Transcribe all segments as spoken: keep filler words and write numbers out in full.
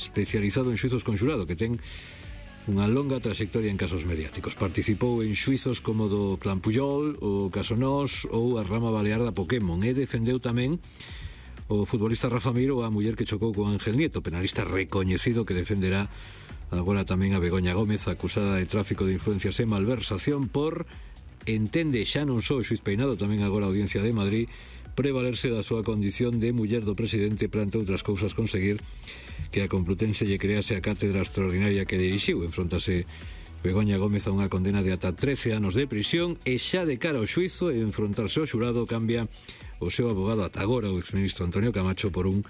especializado en xuizos con xurado, que ten unha longa trayectoria en casos mediáticos. Participou en xuizos como do Clan Puyol, o caso Nós ou a rama balear da Pokémon, e defendeu tamén o futbolista Rafa Mir ou a muller que chocou con Ángel Nieto, penalista recoñecido que defenderá agora tamén a Begoña Gómez, acusada de tráfico de influencias e malversación por, entende xa non só o xuiz Peinado, tamén agora a Audiencia de Madrid, prevalerse da súa condición de muller do presidente para, entre outras cousas, conseguir que a Complutense lle crease a cátedra extraordinaria que dirixiu. Enfrontase Begoña Gómez a unha condena de ata trece anos de prisión e xa de cara ao xuizo e enfrontarse ao xurado cambia o seu abogado ata agora, o exministro Antonio Camacho, por un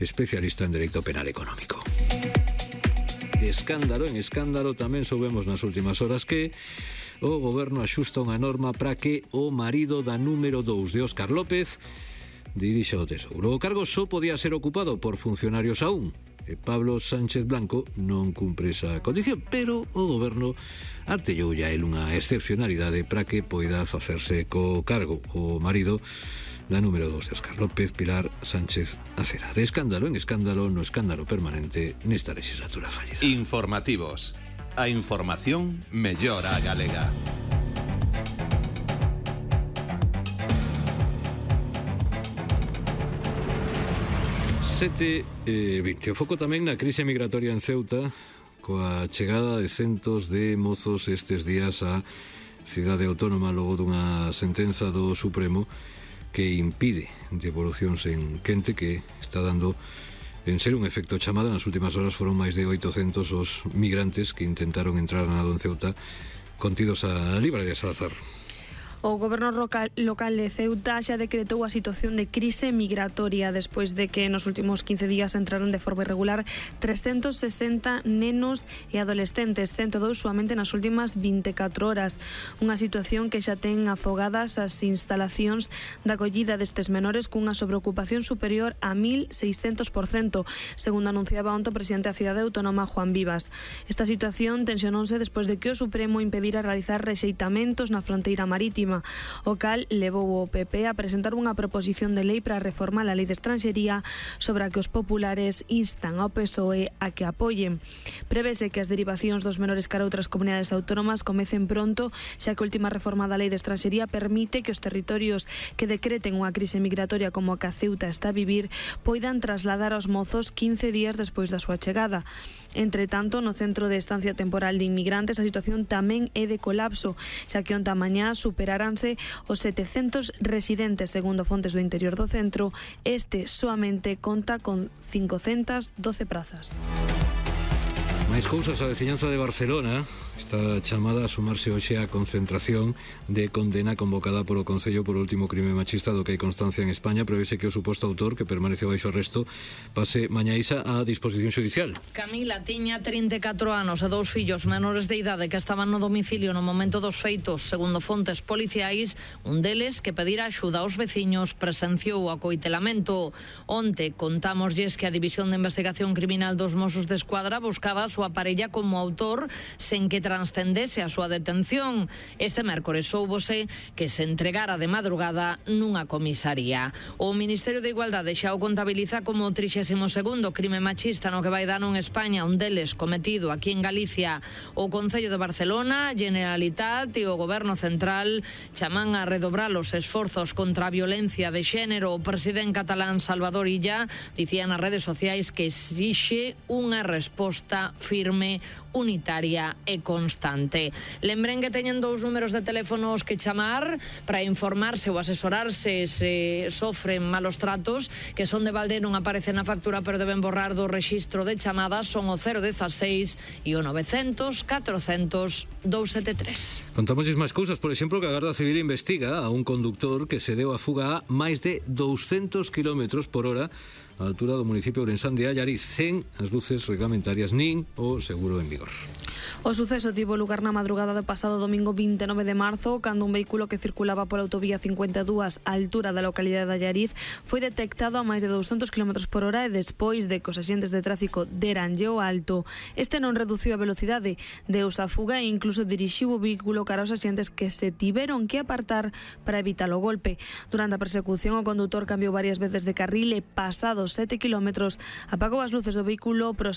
especialista en dereito penal económico. De escándalo en escándalo tamén soubemos nas últimas horas que o goberno axusta unha norma para que o marido da número dous de Óscar López dirixa o Tesouro. O cargo só podía ser ocupado por funcionarios aún, e Pablo Sánchez Blanco non cumpre esa condición, pero o goberno artellou ya el unha excepcionalidade para que poida facerse co cargo o marido da número dous de Óscar López, Pilar Sánchez Acera. De escándalo en escándalo, no escándalo permanente nesta legislatura fallida. Informativos. A información mellora a galega. sete e vinte. O foco tamén na crise migratoria en Ceuta, coa chegada de centos de mozos estes días á cidade autónoma logo dunha sentenza do Supremo que impide devolucións en quente, que está dando en ser un efecto chamada. Nas últimas horas foron máis de oitocentos os migrantes que intentaron entrar na Nado en Ceuta contidos a Libraria Salazar. O goberno local, local de Ceuta xa decretou a situación de crise migratoria despois de que nos últimos quince días entraron de forma irregular trescentos sesenta nenos e adolescentes, cento dous soamente nas últimas vinte e catro horas. Unha situación que xa ten afogadas as instalacións da acollida destes menores cunha sobreocupación superior a mil seiscentos por cento, segundo anunciaba onte o presidente da cidade autónoma, Juan Vivas. Esta situación tensionouse despois de que o Supremo impedira realizar rexeitamentos na fronteira marítima, o cal levou o P P a presentar unha proposición de lei para reformar a lei de estranxería, sobre a que os populares instan ao P S O E a que apoien. Prevese que as derivacións dos menores cara a outras comunidades autónomas comecen pronto, xa que a última reforma da lei de estranxería permite que os territorios que decreten unha crise migratoria como a que a Ceuta está a vivir poidan trasladar aos mozos quince días despois da súa chegada. Entre tanto, no centro de estancia temporal de inmigrantes a situación tamén é de colapso, xa que onta mañá superaranse os setecentos residentes, segundo fontes do interior do centro. Este soamente conta con cincocentas doce prazas. Máis cousas, a veciñanza de Barcelona está chamada a sumarse hoxe á concentración de condena convocada polo Concello por o último crime machista do que hai constancia en España. Prevese que o suposto autor, que permanece baixo arresto, pase mañaísa á disposición xudicial. Camila tiña trinta e catro anos e dous fillos menores de idade que estaban no domicilio no momento dos feitos. Segundo fontes policiais, un deles, que pedira axuda aos veciños, presenciou o acoitelamento. Onte contámoslles que a División de Investigación Criminal dos Mossos de Escuadra buscaba a súa parella como autor sen que transcendese a súa detención. Este mércores soubose que se entregara de madrugada nunha comisaría. O Ministerio de Igualdade xa o contabiliza como o trixésimo segundo crime machista no que vai dar en España, un deles cometido aquí en Galicia. O Concello de Barcelona, Generalitat e o Goberno Central chaman a redobrar os esforzos contra a violencia de xénero. O presidente catalán Salvador Illa dicía nas redes sociais que exixe unha resposta firme, unitaria e constante. Lembren que teñen dous números de teléfonos que chamar para informarse ou asesorarse se sofren malos tratos, que son de balde, non aparece na factura, pero deben borrar do rexistro de chamadas. Son o cero dieciséis e o novecientos catrocentos doscientos setenta e tres. Contamosles máis cousas, por exemplo, que a Garda Civil investiga a un conductor que se deu a fuga a máis de douscentos kilómetros por hora a altura do municipio ourensán de Allariz, sen as luces reglamentarias nin o seguro en vigor. O suceso tivo lugar na madrugada do pasado domingo vinte e nove de marzo, cando un vehículo que circulaba pola autovía cincuenta e dúas á altura da localidade de Allariz foi detectado a máis de douscentos kilómetros por hora e despois de que os axentes de tráfico deranlle o alto, este non reduciu a velocidade, deus a fuga e incluso dirixiu o vehículo cara aos axentes, que se tiveron que apartar para evitar o golpe. Durante a persecución, o condutor cambiou varias veces de carril e, pasados sete kilómetros, apagou as luces do vehículo,